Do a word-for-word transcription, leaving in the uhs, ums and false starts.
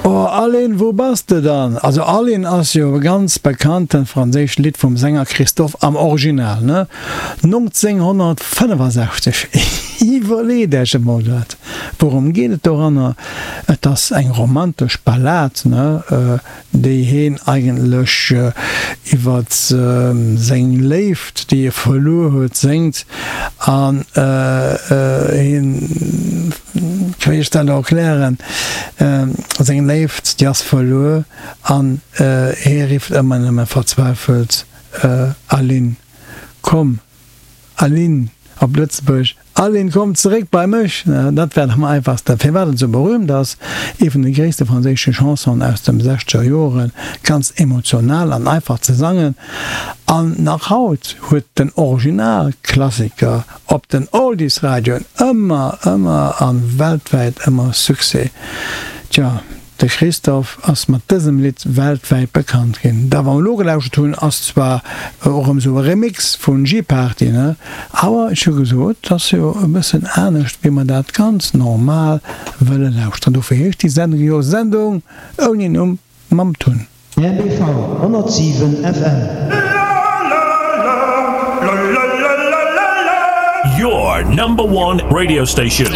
Oh Aline, wou bass de dann? Also Aline ass jo e ganz bekanntent franséischt Lidd vum Sänger Christophe am Original, ne? nonzénghonnertfënnefasechzeg, iwwerleet Iech emol dat! Wourëm geet et doranner? Et ass eng romantesch Ballad, ne? Déi heen eigentlech iwwer seng Léift, déi e verluer huet, séngt an hien, wéi ech dat elo erklären, seng Léift, déi ass verluer an hie rifft ëmmer nëmme verzweifelt, Aline, komm! Aline, op Lëtzebuergesch, Aline, komm zeréck bei mech! Dat war am einfachsten. Firwat et esou berühmt ass, Ee vun de gréisste franséische Chansonen aus dem sechzeger Joren, ganz emotional an einfach ze sangen. An nach haut huet den Original-Klassiker op den Oldies-Radioen ëmmer, ëmmer a weltwäit ëmmer Succès. Tja. De Christophe ass mat dësem Lidd weltwäit bekannt ginn. Dat wat mer elo gelauschtert hunn ass zwar och erëm esou e Remix vun G-Party, ne? Awer ech hu gesot, et ass jo e bëssen anescht wéi mer dat ganz normal wëlle lauschteren. Dofir heescht déi Sendung jo Sendung ouni Numm mam Tun. R B V honnertsiwen F M. Your number one radio station.